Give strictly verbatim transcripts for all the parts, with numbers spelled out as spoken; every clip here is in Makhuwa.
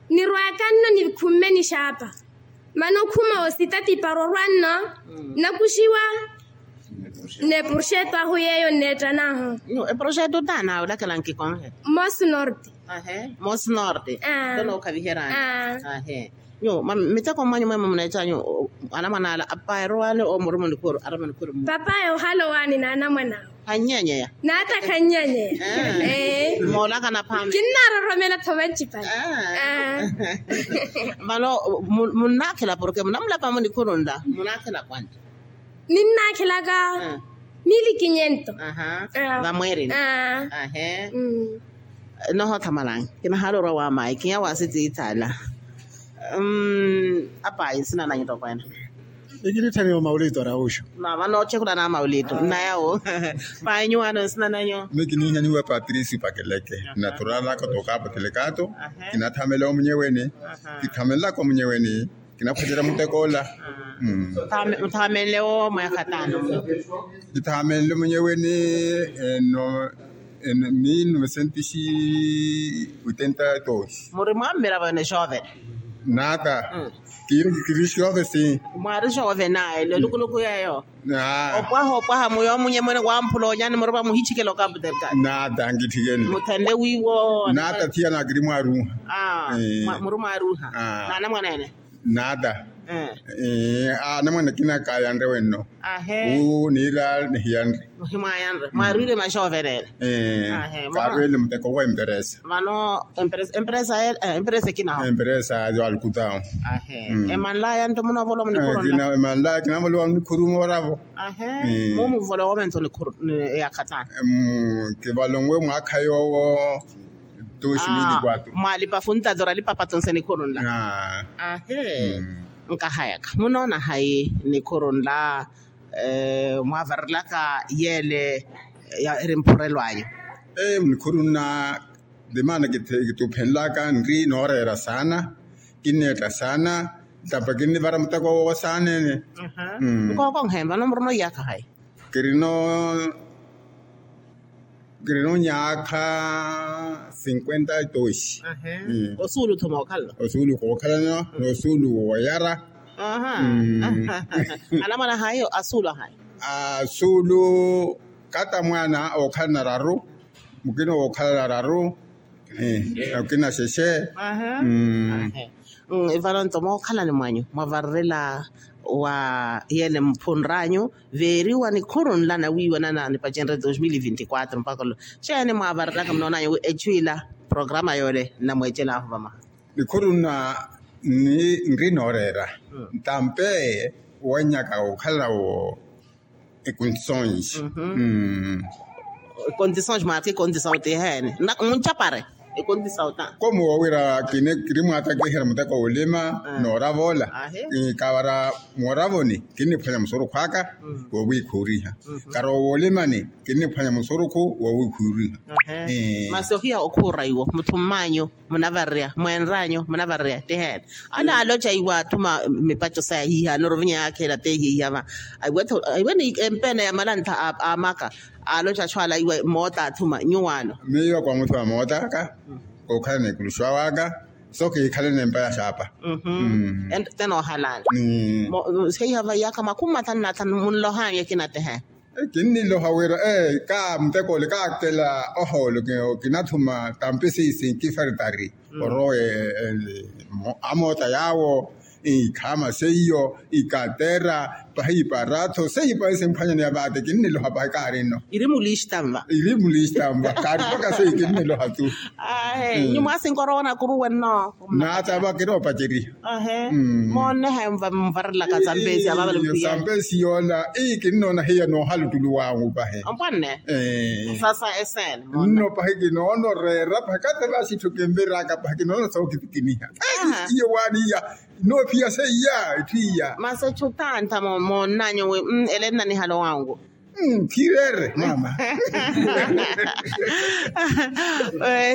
Nirwaka nno nikhumme nixaapa. Mano khuma osita tipara orwa nno nakuxiwa. N'eproxeto ahu yeeyo nneettan'ahu. Eproxeto taana olakela nkikonhe. Mos norte. Mos norte. Nto nookhaviheranyu. Nyu miteko mmanyu mwemwe muneecanyu anamwana ala apaero wale omuruma onikhuru arama onikhuru. Papayo ohala owaani n'anamwana awe. Khannyanyeya. N'ata khannyanyeya. Moolaka naphaami. Kinnaroromela tho vancipale. Vano munnaakhela porke munamulapamo nikhuru nla munnaakhela kwani? Ninnaakhilaka mili kinyento. Vamweerina. Ahe. Nohothamalani kinahaala orwa wa mayi kinya wa sitiithaala. Apayi nsina nanyu tokwene. Ikinitthanyiwa maulito arausho. Mama nootthekula na maulito nnayawo. Payi nyuwaano nsina nanyu? Miyo kiniinyaniwa patricio pakeleke. Naturaanaka tookaapa telekato. Kinathamelaka omunyeweni. Kithamelaka omunyeweni. Kinaphwanyerya muteko ola. Muthaamenle wo mweekha taano? Kithamenle munyeweni eno eno mil novecentisi oitenta e dos. Muri mwammiravo ene xovene? Nata. Kiri xove si. Mwari xove naye lelukuluku yeyo. Opwaha opwaha muyo munye mwene wamphula onyani muri vamuhichikela okaputerkani? Nata nkitthikeni. Muthenle wiiwo nata thiya nakiri mwaruha. Muri mwaruha. Nana mwanene. Nata. Anamwane akina kaayanre wenno. Ahe. Uu niira nihiyanre. Muhimwayanre mwarwire maxoverene. Ahe. Kaarwele muteko wa emperesa. Vano emperesa ekinaho emperesa yo alukutao. Ahe. Emanlaya nto munovolwa munikhurunla? Emanlaya kinavolwa munikhuru mooravo. Ahe. Mumuvolwa woventho nikhuru. Eyakhatana. Kivalonwe mwaakha yoowo. Mwalipa funtato oralipa patonse nikhuru nla. Ahe. Nkahayaka munoona hayi nikhuru nla? Mwavarilaka yeele eri mphurelwanyu? Nikhuru nla. Ndimaana kituphenlaka nri nooreera saana. Kinneetta saana. Ntampa kinnivara muteko woowo saana ene. Nkookonkhe vano murino iyaakha hayi? Kirino kirino nyaakha sinkwenta e toxi. Osuulu thuma okhalana? Osuulu kookhalana. Noosuulu woyara. Anamwana hayo asuulu ahayi? Asuulu kata mwana ookhalana raru. Mukina wookhalana raru. Mukina xexe. Vano nto mookhalani mwanyu mwavarerela wa yele mphunranyu veeriwa nikhuru nla nawiiwa nana nipacenre dos mil vinti quatro mpaka olo? Xeeni mwaavareraka munoonanyu wi echu ila programa yole nnamweecelaahu vamaha? Nikhuru nna nri nooreera ntampe wanyaka okhala wo. Ekondisons. Ekondisons mwaarika ekondisons ti eheene? Munchapare ekondisons ta. Komu woowira kini kiri mwaatakiherya muteko wulima nooravola. Kavara mooravoni kinniphwanya musurukhu aka woowikhuuriha. Karowa wolimani kinniphwanya musurukhu woowikhuuriha. Masi ohiya okhuura iwo mutthu mmaanyu munavarerya mwenranyu munavarerya tiheene? Ala aaloca iwe athuma mipaco saya hiiha anoruvinya yaakheela te hiiha va. Aiwe ni empeena ya malantha a maka aaloca achu ala iwe moota athuma nyuwaano. Miyo kwa muthuma moota aka kookhala n'ekuluxuwa waka so kiikhalene empa ya xaapa. Te noohalaani heiha va iyaakha makhumi mathanu na athanu munlohanye kinatehe. Kinniloha wira ee ka muteko ole kaakela ohoolo kinathuma tampi siisi nkifaritari orowe amoota yaawo. Ikhaama seiyo ikatera pahi iparatho seiyo pahi simphwanyani ya vaate kinniloha pahi kaari nno. Iri mulista nva iri mulista nva kaari mpaka seiyo kinniloha tu. Ahe nyu mwasinkorowa onakuruwe nno. Naata vakira opaceriha. Ahe moonneha mvarelaka sampesi avavale mpiya sampesi yoola. Ii kinnoona hiya noohala ottulu wangu pahi. Ompwanne sasa esene nno pahi kinoono reera pahi kate vasitthu kinviraka pahi kinoono sookitikiniha. Iyo waaniya. Noophiya seiya etthu iya. Masi echu tanta moonnanyu wi ele nnanihalo wangu. Khireere mama.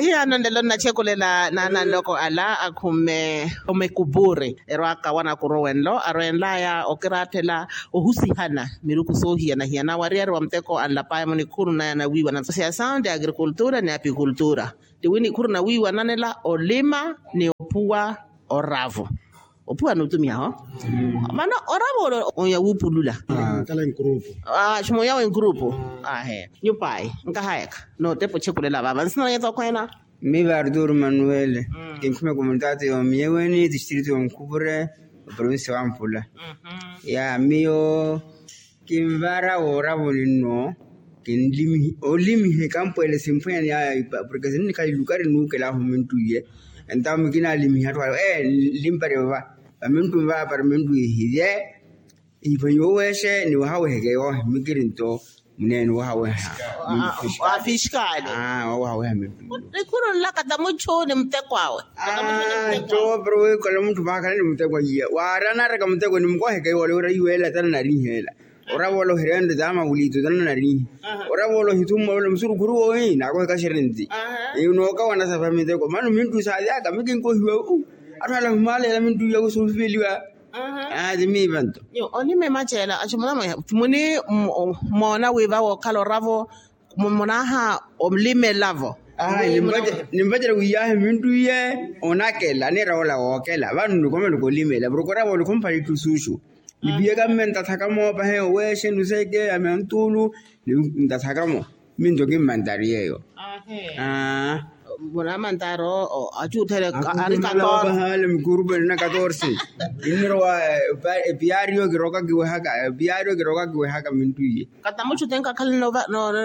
Hiyano nlelo nnacheekulela naananloko ala akhumme omekupuri erwaaka wanakuruwe nlo arwenlaya okiraathela ohusihana miruku soohiyana-hiyana wariyari wa muteko anlapaya munikhuru naya nawiiwanana siyasao nti agrikultura ni apikultura. Tiwi nikhuru nawiiwananela olima ni ophuwa oravo. Ophuwa n'utumiha ho. Vano oravo ole onya wupulula. Kala enkurupu. Ximonya w'enkurupu. Ahe nyupayi nkahayaka. Nootepa ochepulela vava nsinanyeto khweena. Mmi vaari tuuru manuwele. Kinkhume komunitaati yoomiyeweni tistritu yoonkupure. Oprovinsi wa mpula. Ya miyo kinvaara wooravoni nno. Kinlimihi olimihi kampweele simphwenya ni yaya ipa porke sinnikhala ilukari nuukelaahu minttuiye. Entawo mikinalimihi atthu ale ee nlimpari vava. Vaminttui vava para minttuiye hiye. Iphwenyiwe oweexe ni wahaweheke yoohi mikiri nto. Muneeni wahaweha. Wafiskali. Wahaweha minttuiye. Nikhuru nlaka ta muchu ni muteko awe. Nto pero wiikola munthu vaakhala ni muteko iye waari anaaraka muteko ni mukoheke yoole wira iweela tana nariiheela. Oravola ohireento tama vuliito tana nariihi. Oravola ohithummavela musurukhuru woohi naakoheka xerenti. Nookawana sava miteko mano minttu saalyaka mikinkohiwa. Atthu ala humaleela minttu iyako suufiveliwa. Aati miiva nto. Onime macheela achimuna mweha muni moona wiiva wookhala oravo. Munaha olimelavo. Nimpacela wiyahi minttuiye. Onakela niira ola wookela vano nikomela kolimela porke oravo olikhumpala itthu suuxu. Nipiyaka mme ntathakamo pahe oweexe nuseke ame antuulu. Ntathakamo minto kimmantari yeeyo. Munamantari achuuthele ari katorse. Pahaale mikurupu enina katorse. Kinnirowa. Epiyaariyo kiroka kiwehaka epiyaariyo kiroka kiwehaka minttuiye. Katamuchu tenka khala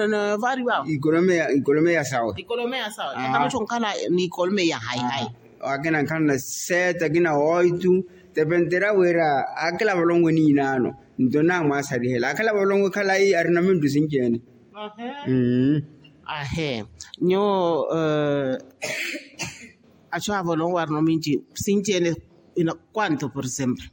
novariwa awo. Ikolomeya sawe. Ikolomeya sawe katamuchu nkhala ni ikolomeya hayi hayi. Akina nkhala na seeta akina oitu. Tepentera wira akila valongwe niinaano. Nto namwasarihela akila valongwe khalayi arina minttu sinci-ene. Ahe nyuwo. Achu avalongwe arina minci sinci-ene. Ina kwanto por exemplo.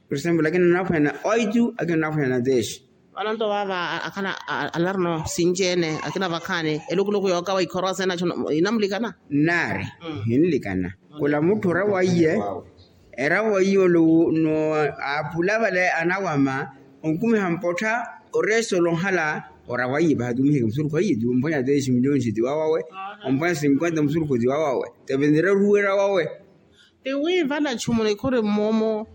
Por exemplo akina naphwanya na oitu akina naphwanya na teexi. Vano nto vava akhala alarino sinci-ene akina vakhaani elukuluku yookawa ikhorowa seenachu inamulikana. Nnaari hinlikana. Khula mutthu oravo aiye eravo aiye ole no apula vale anawama. Onkumiha mpottha oresto olonhala oravo aiye paha tumiheke musurukhu aiye ti omphwanya teexi miliyoni ti wawawe. Omphwanya sinkwenta musurukhu ti wawawe. Tepentera oruwe eravo awe. Ti wi vana chumuni khuri mmomo.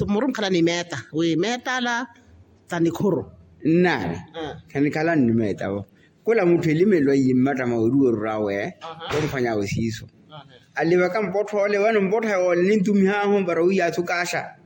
Muri mukhala ni meeta wi meeta ala. Tanikhuru nnaari. Khanikhala nni meeta vo. Khula mutthu elimelwa iye mmatta mwa oruwerura awe. Omphwanyawe siiso. Alivaka mpottho ole vano mpottho yoole nintumihahu para wiyaathu kaaxa.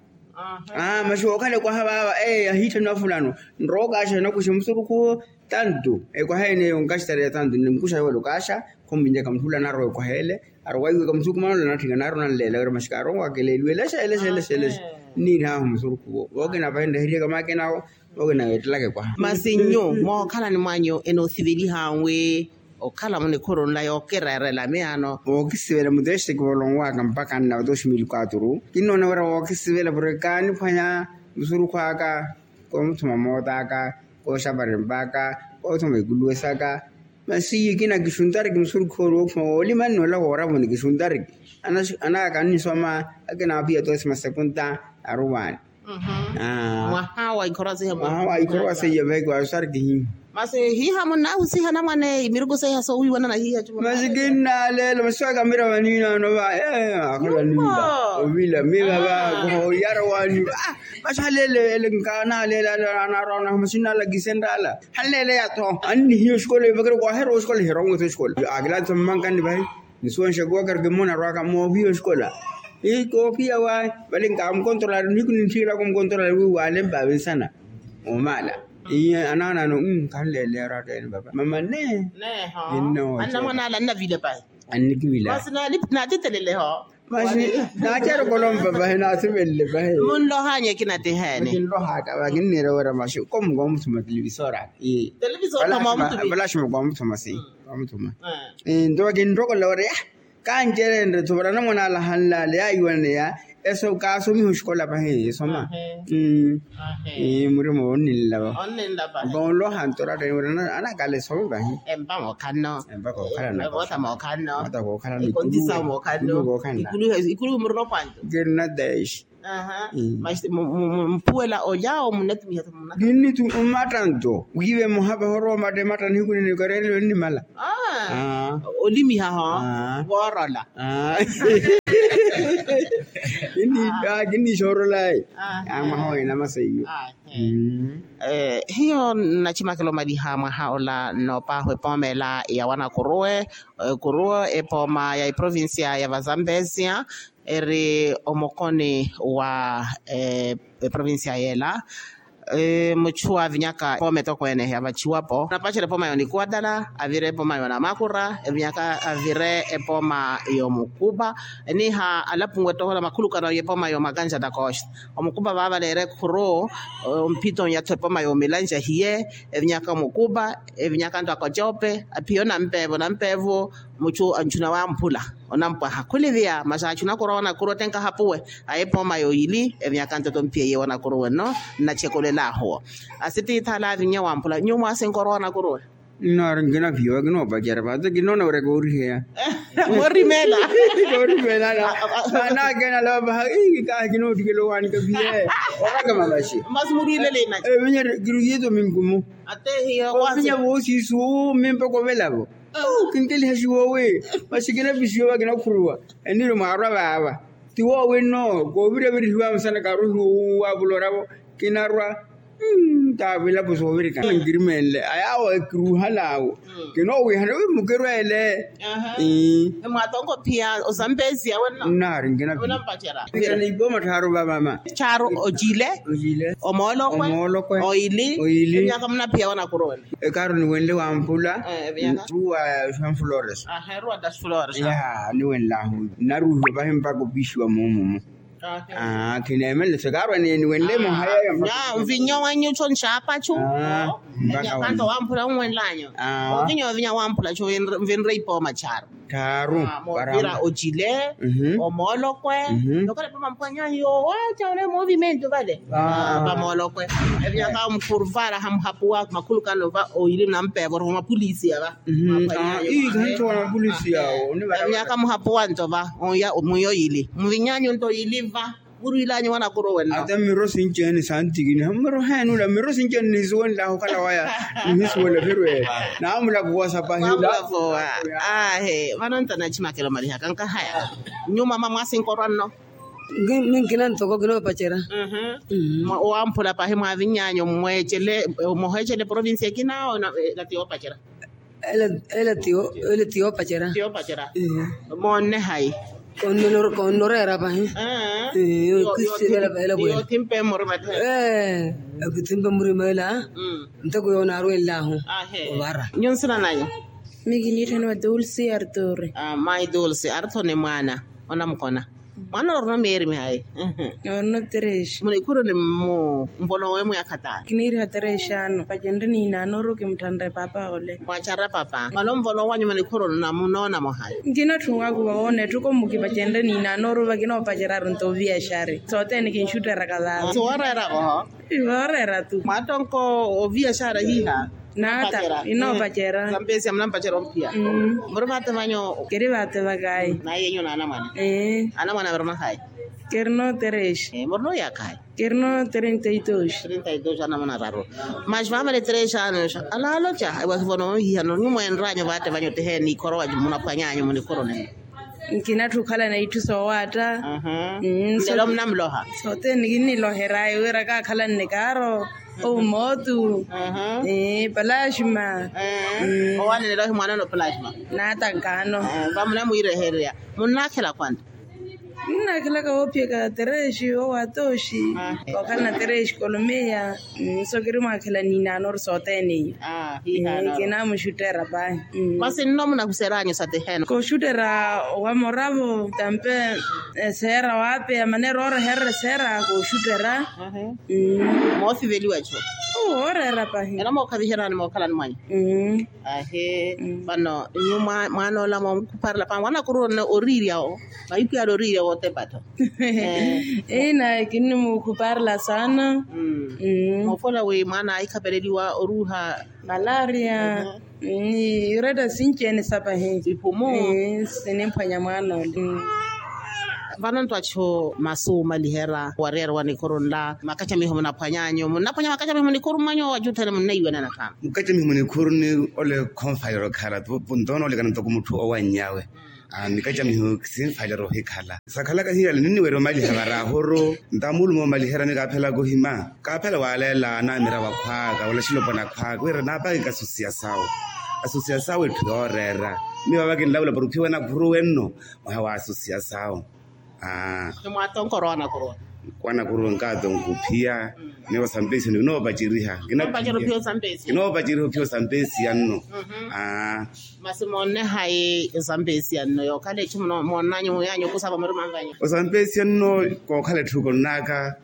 Masi wookhale kwaha vaava ee ahiitthani wafulano. Nrowa okaaxa nakuxe musurukhu tantu ekwaha ene eyo nkaxitareya tantu nne mukuxa yoole okaaxa. Khumminjaka mutthu ula anarowa ekwaha ele. Arowaiweka musukumano ola natthika naari onanleela wira maxikaari onwakeleeliwe elexa elexa elexa elexa. Nniirihaahu musurukhuwo vookina pahi nreherihe kamaakinawo. Vookina weettelaka ekwaha. Masi nyu mookhalani mwanyu enoosivelihaawe okhala munikhuru nla yookireerela miyaano. Wookisivela muteexi kivolonwaka mpakha nna dos mil quatro kinnoona wira wookisivela porke kaaniphwanya musurukhu aka. Koomuthuma moot'aka kooxapari mpakha koothuma ikuluwe saka. Masi iye kina kixuntariki musurukhu oori wookhuma woolima nnola wooravoni kixuntariki. Anaka kannisoma akina apiya tosima sekunta aruwaani. Mwaha wa ikhorowa seiya mwaha wa ikhorowa seiya vahi kiwasusariki hiiho. Masi hiiha munnahusiha namwane imiruku seiha soowiiwanana hiiha. Masi kinnaleela masi waka mira vaniinano va ee akhala niila ovila miva va. Kohoyara waniva. Masi haleele ele nkaana haleele ale anaarwa anahu masi nnalakise nraala. Haleele yatho annihiya oxikola ivakira kwaheera oxikola iherongo tho oxikola. Akilaatisa mmankanni vahi nisuwanxa kuwakari kimmona arwaka mooviya oxikola. Ii koopiya wahi vale nkaamukontrola nihiku nintthiyelaka omukontrola wi waalempa avinsana. Omaala ii anaanano. Khanleeleya oratta ene papa mama nne. Annavilepa annikivila. Masi naatitelele ho. Masi naacerokolompapa he naasivelele pahe. Munlohanye kinateheene. Kinlohaka vakinniira wira maxi komu koomuthuma televisora. Televisora. Valaxima koomuthuma si koomuthuma. Nto vakinrokolela wira ya kancerenre thovara namwana alahanlaale yaiwaneya. Eso kaasomiha oxikola pahi esoma. Murima onninlava. Onloha nto oratta ene wira anakala esome pahi. Empaka okhalana. Empaka okhalana. Ikulu murina okwanto. Kirina dez. Masi mpuwela olya omunatimiha. Kinnitu mmatta nto wiive muhapa horowa omatta ematta nihiku nini okareereliwe nnimala. Olimiha ho voorola. Kinniixoorolayi. Mwaha wina maseiyo. Hiyo nnacimakela omaliha mwaha ola nnoopaahu epooma ela ya wanakuruwe. Kuruwe epooma ya eprovincia ya vazambesia eri omukoni wa eprovincia yela. Muchu avinyaka epooma etokweene yavachiwapo napacerya epooma yonikuwatala avire epooma yonamakura evinyaka avire epooma yomukupa. Eniha alapunwe ettohola makhulukano yepooma yomakanjata kosta omukupa vaavaleere khuru. Omphito nyatho epooma yomilanja hiye evinyaka omukupa evinyaka nto akocope aphiyo nampeevo nampeevo. Muchu anchuna wamphula onampwaha khuliviya masi achuna khurowa nakhuru otenka hapuwe. Aye pooma yoyili evinyaka nto tomphiye yewo nakhuru wenno nnachekolela ahuwo. Asititha alaavinya wamphula nyuwo mwasinka orowa nakhuru we. Nnaari nkinaviya wa kinoopacerya vaate kinoona wira kooriheya. Moorimeela. Koorimeela. Naanakeena alavaha ii kahi kinoottikela owaani kaviye. Orakama vaxi. Masi muriilele inaci. Evinya kiruhiye tominkumu. Atehiya ovinya voosiisu mimpa kovelavo. Kinkelihaxiwa owi masi kinapisiwa vakinakhuruwa. Eniiri mwaarwa vaava tiwo winno koovirya virihiwa musana kaaruhiwa wuwavula oravo. Kinarwa. Taa vilapo soovirikana nkirimenle ayaawo ekiruuhala awo. Kinoowihana wi mukirweele. Mwatonko phiya osampeziya wenno. Nnaari nkinapi. Ipooma tthaaru va mama. Tthaaru ocile. Omoolokwe. Omoolokwe. Oyili. Oyili evinyaka munaphiya wanakuruwela. Ekaaru niwenle wampula. Evinyaka. Ruwa sanflores. Eruwa das flores. Niwenlahu naruhiwa pahi mpaka opixiwa moomumu. Kineemelele sekaarwa niwenle muhaya. Nvinyo wenyu cho nxaapachu. Evinyaka nto wamphula nwenlanyu. Ovinyo ovinya wamphula cho nvinre ipooma tthaaru. Moovira ocile. Omoolokwe. Nokhala pamampwanyahiyo wacha ole movimentu vale. Pamoolokwe. Evinyaka mkhuruvara hamuhapuwa makhulukano va oyili nampevo roho mapulisi yava. Ii kahantowa mapulisi yawo. Evinyaka muhapuwa nto va oya mwiyo yili muvinyanyu nto yili va. Murwilanyu wanakuruwela ata miro sinci ene santikini miro heenula miro sinci ene nihisuwenlahu okhala waya. Nihisuwela virwe. Naamulakuwa sapahila. Aahe vano nto nachimakela omalihaka nkahaya. Nyuma mama mwasinkorwa nno. Minkina ntoko kinoopacerya. Wamphula pahi mwavinyanyu mweecele muheecele provinsi ekina ona. Ela tiyo ela tiyo ela tiyo pacerya. Moonne hayi? Konnoreera pahi. Okithimpe murima ela ntoko yoonaarwenlahu. Ovara. Nyu nsina nanyu? Mikiniitthaniwa dulce arturi. Mayi dulce arturi ni mwaana onamukona. Mwaana orino miyeeri mihayi? Orino tereshi. Munikhuruni mmu mvono wemwe akhatani? Kiniiriha tereshi ano pacenre niinaanoru kimutthanre papa ole. Mwacharra papa vano mvono wanyu munikhuruni namunoona muhayi? Nkinatthuwaku vawoona etthuko mmukipacenre niinaanoru vakinoopaceryaru nto oviyaxari sothene kinxutteraka vava. Siwooreera voho. Vooreera tu. Mwattonko oviyaxara hiha? Naata inoopacerya. Sampesiya munampacerya omphiya. Muri vaate vanyu? Kiri vaate vakayi. Naye enyu naanamwana? Anamwana virino hayi? Kirino tereshi. Murino yakayi? Kirino trintaidoxi. Trintaidoxi anamwana raru. Maxi vavale tereshi ano alaaloca ewahivono ohihanoni mwenranyu vaate vanyu oteheeni ikhorowa munaphwanyanyu munikhuruni? Nkinatthu okhalana itthu soowaatta. Lelo munamuloha? Sothene kinniloheraya wira kaakhalanne kaaro. Omootu. Palaxima. Owanenela ohimwaanana opalaxima. Naatankaano. Vamunamwiirehererya munnaakhela kwanta? Nnaakhelaka woophiyaka tereshi wowatoxi. Okhalana tereshi kolomeya. Nso kiri mwaakhela niinaanoru sothene iyo. Kinaamuxuttera pahi. Masi nno munahuseranyu sateheno? Kooxuttera owamoravo tampe. Eseera waapeya maneera ooreherera eseera kooxuttera. Moosiveliwa cho. Wooreera pahi. Ena mookhaviherani mookhalani mwanyu? Ahe. Vano nyu mwaanoola moomukhuparela pahi mwaana akuruwa oriirya. Mahiku yaari oriirya wootepa-tho. Inaye kinnimuukhuparela saana. Moofola wi mwaana ahikhapeleliwa oruuha. Malaria. Ni yuretta sinci-ene sapahi. Ipumu. Sinimphwanya mwaana ole. Vano nto achu masu maliherya wariyari wa nikhuru nla makacamiho munaphwanyanyu munnaphwanya makacamiho munikhuru mwanyu wachu thene munnaiwenana khamu? Mukacamiho munikhuru ni ole khonfalero khala nto nole kana ntoko mutthu owannyawe. Mikacamiho kisinfalero ohikhala sakhalaka hiyale ninniwerya omaliha varahuru ntamulume omaliherya mikaphelaka ohima kaphela waleela namira wakhwaka wala xilopwana khwaka wira napaki kasusiya sawo. Asusiya sawo etthu yooreera miyo vavakinlavula porukhiwa nakhuru wenno mwaha wa asusiya sawo. Aa. Nimwatonkoro wanakuruwa? Wanakuruwa nkaatonko ophiya. Niwo sampesi ninoopaceriha. Ninoopaceriha ophiya osampesi yanno. Aa. Masi moonne hayi osampesi yanno yookhala echu moonnanyu muyanyu okusava murima nvanyu? Osampesi yanno kookhala etthu konnaka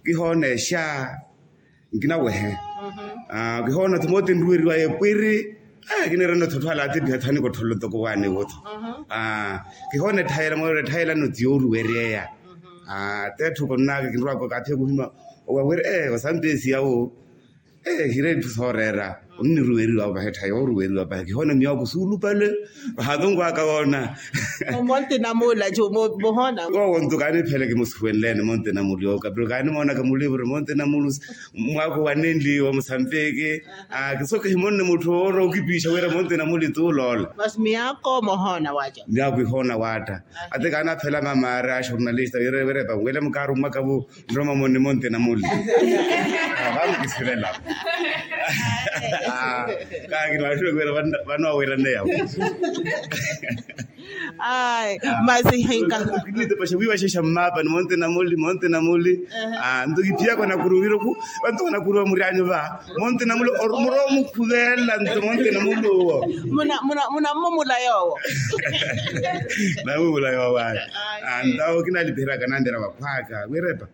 kihoonexa. Nkinawehe. Kihoona thimote nruweriwaye pwiri. Kiniirana thotho ala atipiha thani kottholo ntoko waani wotho. Kihoona etthayela mooro etthayelano ti yooruweryeya. Tetthu konnaka kinrwaka kaathiya kuhima owaweri. Osampesi yawo hire etthu sooreera. Onniruweriwa pahe etthayi yooruweriwa pahe kihoona miyaku suulupale. Vahatonkwaka woona. Monte namula muhoona. Wowo nto kaanipheleke musuwenlene monte namuli oka pero kaanimoonaka mulivuru monte namulu. Mwaku wanenliwa musambeke. Kiso kihimonne mutthu oora okipiixa wira monte namuli tuuloola. Masi miyako mohoona watta. Miyako ihoona watta. Ate kaanaphela mamaari a xornalista wira wira epa wele mukaarummaka vu. Nroma moni monte namuli. Vamukisivela. Kakiri vaxiwekuwira vano wawerane yavo. Ai masi hinka. Paxa wiiwaxexa mmapa ni monte namuli monte namuli. Nto kiphiyaka onakuru wiiroku vanto onakuru vamurianyu va monte namuli. Muro mukhuvela nto monte namuli uwo. Munammumula yoowo. Nammumula yoowo ayi. Ntawo kinalipiheraka nambira vakhwaka wirepa.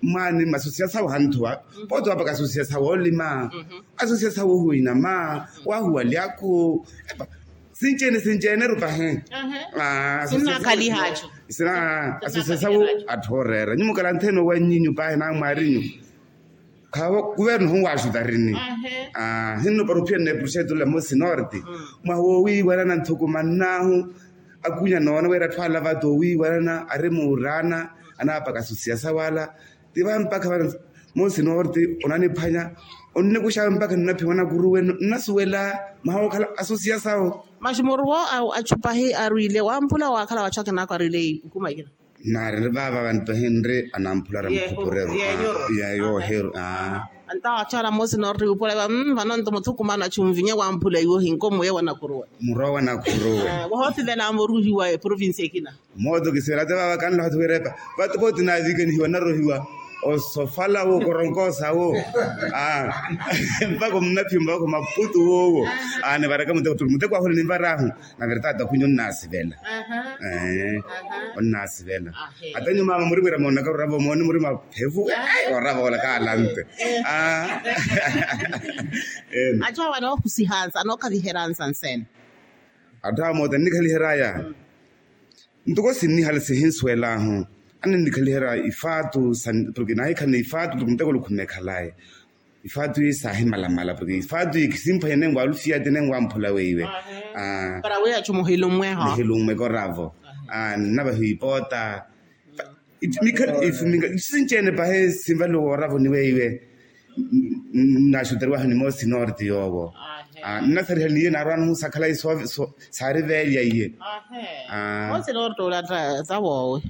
Mwaani masosiya sawo hanthuwa. Pooti wapaka asosiya sawo olima. Asosiya sawo ohuwina ma wahuwalyaku. Epa sinci-ene sinci-ene rupahi. Sinnakhalihachu. Sina asosiya sawo. Atthu ooreera nyumukala nthene owanyinyu pahi namwaarinyu. Khaavo kuverno hunwaaxutarini. Hinno para ophiya nneepuruxeto ole mosi norte. Mwaha woowiiwanana nthukumannahu. Akunya noona wira atthu ala vata owiiwanana ari muuraana. Anaapaka asosiya sawo ala. Ti vampakha vano mosi norte onaniphwanya. Onnikuxawe mpakha nnaphiwa nakuruwe nnasuwela mwaha wookhala asosiya sawo. Masi muruwo achupahi arwile wamphula waakhala wachu akinako arwile ikuma ikina. Naari vaava vantu hinri anamphula ari mukhupurero. Yooheru. Antawa achu ala mosi norte wiipula vano nto muthukumano achunvinya wamphula iwo hinko muye wanakuruwe. Murowa nakuruwe. Wohothivela moruhiwa eprovinsi ekina. Mooto kisivela ate vaava kanlaho ati wirepa. Vatu pooti naavikanihiwa narohiwa osofala wo koronkoosa wo. Mpaka omunaphiyo mpaka omaputu wowo. Nivaraka muteko tuli muteko ahula ninvarahu. Navira taata khunyu onnaasivela. Onnaasivela. Ata nyumaama muri wira moonaka oravo moone muri maphevu. Oravo ola kaalante. Atthu awo anoohusihansa anookhaviheransa nsene. Atthu awo moota nnikhaliheryaya. Ntoko sinnihala sihinsuwel'ahu. Anennikhaliherya ifaatu porke nahikhalana ifaatu porke mutekolo khunnekhalaye. Ifaatu iyi saahimalamala porke ifaatu iyi khisimphwanya nenwalufiya ti nenwamphula weiwe. Para wi achu muhilummwe ho. Muhilummwe koravo. Nnavahiwa ipoota. Mikhali ifu minga sinci-ene pahi sinvaliwa wooravo ni weiwe. Nnaxuteriwahu ni moosi norte yoowo. Nnasariha ni iye naarwaana ohunsakhala iye. Saariveelya iye. Moosi norte ula ta woowe.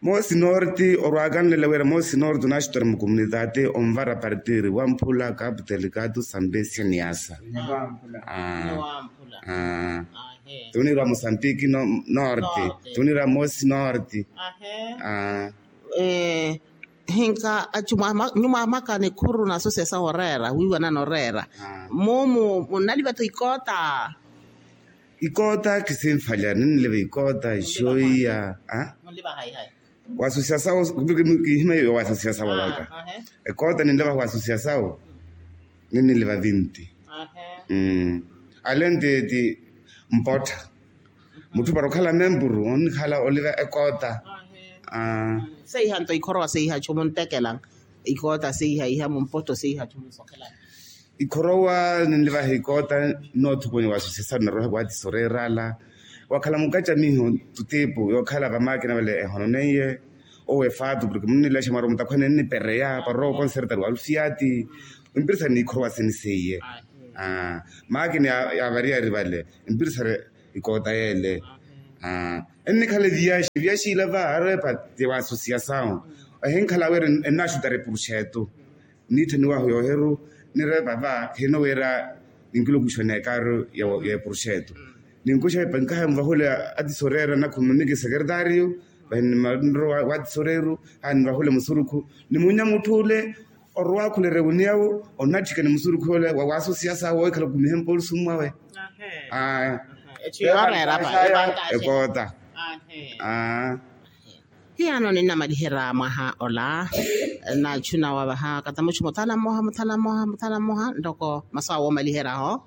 Moosi norte orwaakanlela wira moosi norte onaaxutera mukomunitaate onvara partiri wamphula kapu telikatu sampesia niasa. Tunirwa mosantiki norte. Tunirwa moosi norte. Hinka achu nyumaamaka nikhuru na asosiya sawo oreera wiiwanana oreera. Mumu munnaliva tho ikoota. Ikoota kisinfalya ninniliva ikoota ixoiya. Wasusya sawo. Kihima iyo wasusya sawo waka. Ekoota ninleva wasusya sawo. Ninniliva vinti. Alenti ti mpottha. Mutthu para okhala memburu onnikhala oliva ekoota. Seiha nto ikhorowa seiha chumu nttekelanga. Ikoota seiha iha mumpotto seiha chumu nsokhelanga. Ikhorowa ninlivaha ikoota. Noothukunya wasusya sawo nnaroha kuwatisa oreerala. Wakhala mukacamiho tutipu yookhala vamakina vale ehononeiye. Owe fatu porke munnilexa mwaru mutakhwene nnipereya parorowa okonsertari wa lusiati. Empirisari niikhorowasi niseiye. Makina yavariyari vale empirisari ikoota yele. Ennikhale viyaxi viyaxi ila va arepa ti wa asosiyasawu. Ehinkhala wira ennaxutari purxetu. Nitthaniwahu yohiru nireva va hino wira ninkilukuxa onekaru ya epurxetu. Ninkuxa epankaha muvahule atisoreera nakhumimiki sekeretario. Vahi nimanro wa atisoreeru. Haa nivahule musurukhu nimunya mutthule. Orowakhulerya wuniyawo onatthikani musurukhu ole wa waasosiyasa wohikhala okumihe mpolisi mwawe. Aya. Ekota. Hiyaano ninnamaliherya mwaha ola. Nachu nawavaha katamuchu muthana mmoha muthana mmoha muthana mmoha ntoko masu awoomaliheryaho.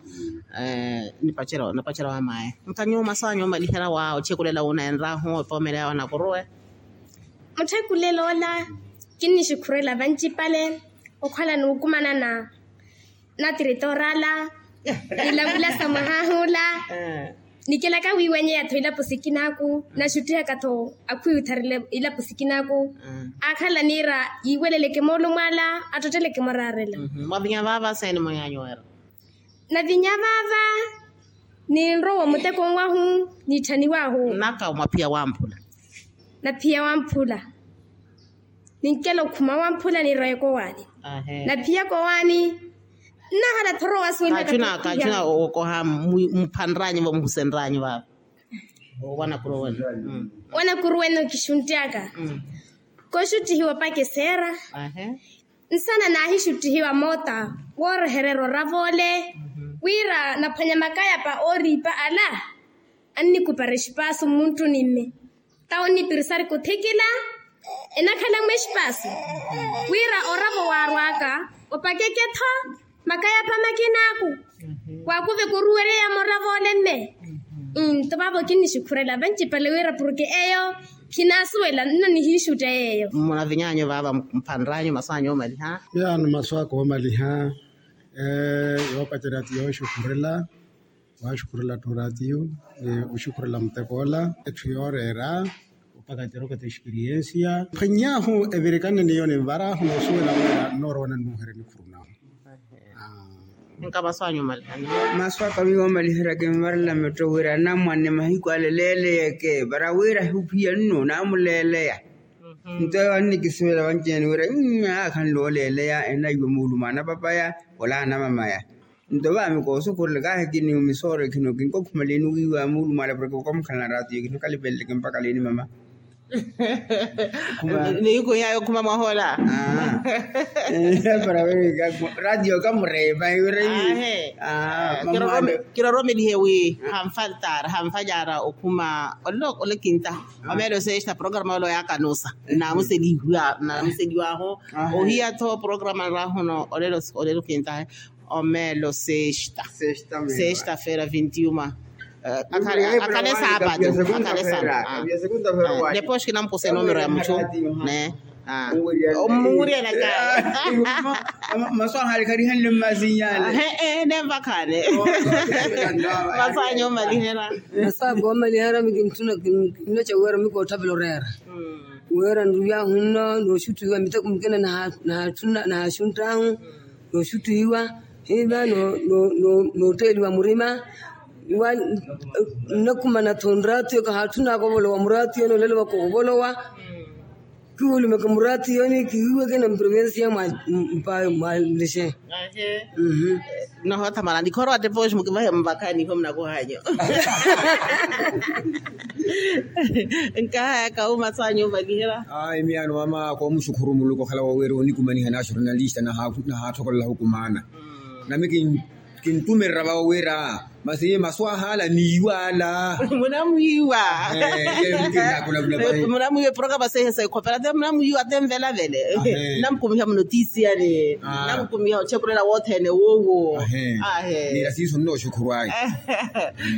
Nipacelo napacelo wa maye muthanyu masu anyu omaliherya wa otthekulela wunenrahu epoomeleya wanakuruwe. Mutthekulela ola kinnixukhurela vancipale okhwala nuukumana na natiritoorala. Nilavulasa mwahahu ola. Nikelaka wiiwanyeya-tho ilapo sikinaku naxuttihaka-tho akhwiwitharela ilapo sikinaku. Aakhala niira yiiweleleke moolumwala attotteleke moraarela. Mwavinya vaava seeni mweyanyu wira? Navinya vaava ninrowa omuteko nwahu nitthaniwahu. Nnaka mwaphiya wamphula. Naphiya wamphula. Ninkela okhuma wamphula nirowa ekowaani. Naphiya kowaani. Nnahala thorowa suwelaka kachuna okoha. Muphanranyu vamuhusenranyu vava. Wanakuruwenu. Wanakuruwenu kixunttiyaka koxuttihiwa opakeseera. Nsana naahixuttihiwa moota woorehererya orava ole wira naphwanya makayapa ooriipa ala. Annikupara exipaasu mmunttuni mme. Tawo nnipirisari kuthikila enakhala-mwe exipaasu wira oravo waarw'aka opakeke-tho makayapa makin'aku. Waakuve kuruwereya moravo ole mme. Nto vaavo kinnixukhurela vancipale wira porke eyo khinaasuwela nno nihiixutta yeeyo. Munaviny'anyu vaava mphanr'anyu masu anyu oomaliha. Yaani masu aka oomaliha. Yoopacerya ti yooxukhurela. Waxukhurela ttu oraatiyo oxukhurela muteko ola. Etthu yooreera opaka tiroketa experiensia phwany'ahu evirikane niyo ninvarahu noosuwela wira nnoorowa nannuuherya nikhuru nahu. Nka masu anyu omalihana? Masu aka miyo omalihana kinvarela metto wira anamwane mahiku ale leeleyeke para wira ahuphiya nno naamuleeleya. Nto eyo annikisuwela vanci-ene wira aakhanle ooleeleya enayiwa muulumaana papaya ola anamamaya. Nto vaami koosukhurela kaahikiniwa misooro ekhino kinkokhumaleni wiiwa muulumala porke kokomukhalana raatiyo kino kalipeleleke mpaka lini mama. Niikuhiyaya okhuma mwahoola. Para wira ratiyo kamureepa wira. Kiroromelihe wi hanfaltara hanfalyara okhuma olokinta. Omeelo sexta programa olo yaakanusa naamuselihiwa naamuseliwaho. Ohiya-tho programa nrahono olelo kintahe. Omeelo sexta sexta feira vinti uma. Akhale saapatu akhale saapatu. Depois kinampusa enumero ya muchu ne omuwuriyana kaya. Masu akhale kharihanle mmasinyale. Nenvakhane. Masu anyu omalihela. Masu aka omalihela mikinttuna kinnoca wira mikootthavela oreera. Wira nruyahu nno nooxuttuhiwa miteko mukina nahaaxunttahu nooxuttuhiwa hiva nootteeliwa murima. Nnakumana-tho nraatiyo kahaatthunaka ovolowa muraatiyo nooleela ovaka ovolowa. Kiwulumeke muraatiyoni kihiweke na mprovensia mwa mpa mwa nlexe. Nohoothamala nikhorowa depois mukivahe mvakhani iho munakuhanyu. Nkahayaka uma sanyu ovalihela. Ai miyaano mama koomuxukhuru muluku okhala wooweera onikumaniha na axornalista nahaathokolela ohukumana. Nami kintumerera vawo wira masi masu ahala niiwa ala. Munamwiiwa. Munamwiiwa eproka masi ehe saikhopela te munamwiiwa te nvelavele. Namukumiha munotisiyani. Namukumiha ochekurela wothene wowo. Ahe. Nira siiso nnoxukhuru ayi.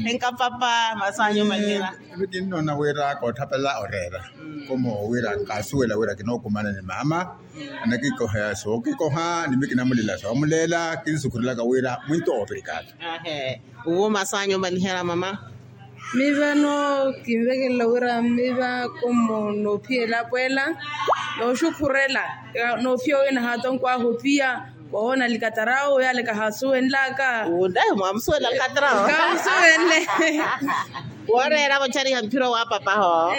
Enkapapa masu anyu omalihela. Evi kinnoona wira koothapela oreera. Komo wira nkasuwela wira kinookumana ni mama. Anakikoha sookekoha nimi kinamulela soomulela kinsukhurelaka wira mwinto operikali. Ahe. Uwo masu anyu omalihela mama. Mivano kinvekelela wira miva komo noophiya elapo ela, nooxukhurela noophiya wina haatonkwaahu ophiya, woona likatarawo yale kahaasuwenlaka. Wundahi mwaamusuwela likatarawo? Kamusuwenle. Wooreera vochariha mphiro wa papaho.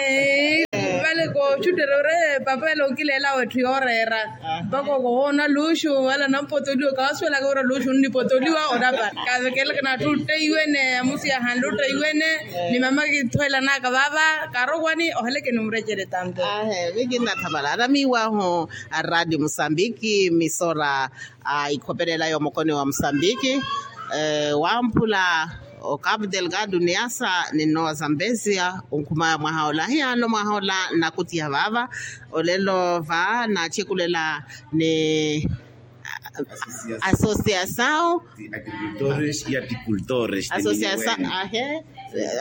Vale kooxuttere ore papa ele onkileela wetthu yooreera. Mpaka okohoona luxu wala nampotoliwa kaasuwelaka wira luxu nnipotoliwa onapara kavekelaka natthu otteiwene amusi yahanle otteiwene. Ni mama kinthuwelanaka vava karowani ohaleke ni murecele tanto. Ahe mikinnathamala aramiwahu a radio musambiki misora a ikhopelela yomokoni wa musambiki. Wamphula o capu delgado niasa ni nnowa zambesia onkhumaya mwaha ola hiyaano mwaha ola nnakutiha vava. Olelo va naachekulela ni associação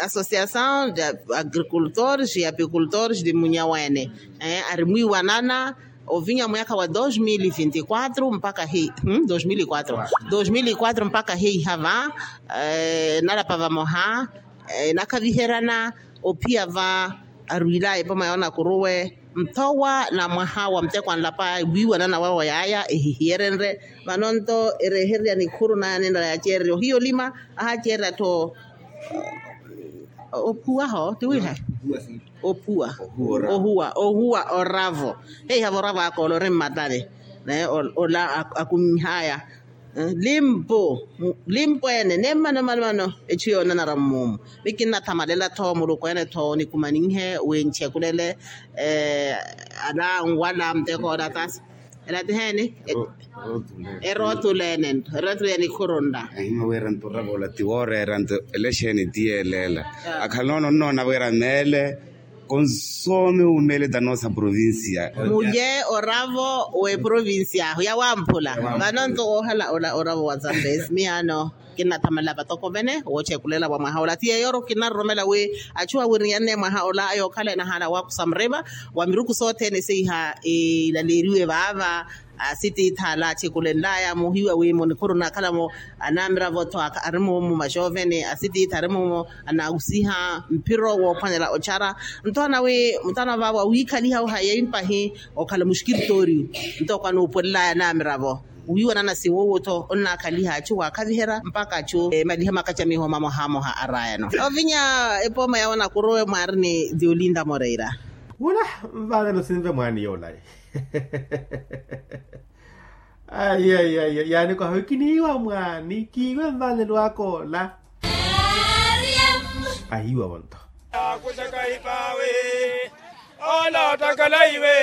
associação de agricultores e apicultores de munyaweene. Arimwiiwanana ovinya mwaka wa dos mil e vinte e quatro mpaka hei dos mil e quatro dos mil e quatro mpaka hei hava. Nalapa vamoha nakhaviherana ophiya va arwilaya epoma yoonakuruwe nthowa na mwaha wa muteko anlapa wiiwanana wawo yaaya ehihiyerenre. Vano nto erehererya nikhuru naya ninla yaceererya ohiya olima ahaaceererya-tho ophuwaho tiwiiha ophuwa ohuwa ohuwa oravo. Heiha voravo aka ola ori mmatani naye ola akummihaya limpu limpu ene ni mmano mmano mmano. Echu yoonanara mmumu mikinnathamalela-tho muluku ene-tho nikumaninhe wi nchekulele ala nwala muteko ola tasi ela tiheni? Erotulene nto erotulene ikhurunla. Ahima wira nto orava ola ti wooreera nto elexeni ti yeeleela. Akhala noona onnoona wira meele konsome umeele ta noosa provincia. Mulye oravo w'eprovincia ahu yawamphula vano nto woohala ola oravo wa zambezi miyaano. Kinnathamalela vatokovene woochekulela wa mwaha ola ti yeeyoro kinnaroromela wi achu awiriyanne mwaha ola ayookhala enahaana waakusa murima wa miruku sothene seiha ilaleeriwe vaava. Asitiitha alaachekulelaya muhiwa wi munikhuru nakhalamo anamiravo-tho ari mumu maxovene asitiitha ari mumu anausiha mphiro woophwanela ochara. Nto ana wi mutana vaavo awiikhaliha ohayeyi mpahi okhala muxkiritooriyu nto kwanuupwelelaya anamiravo wiiwanana siwuwu-tho onnaakhaliha achu waakhaviherya mpaka achu emaliha makacamiho mamohamoha arayano. Ovinya epooma yawo nakuruwe mwaari ni diolinda moreira. Wula nvaanelo sinve mwaani yoola. Ayi ayi ayi yaani kwaha wi kiniiwa mwaani kiiwe nvaanelo aka ola. Ahiiwa vonto. Akuxaka hipaawe ola ottakalaiwe.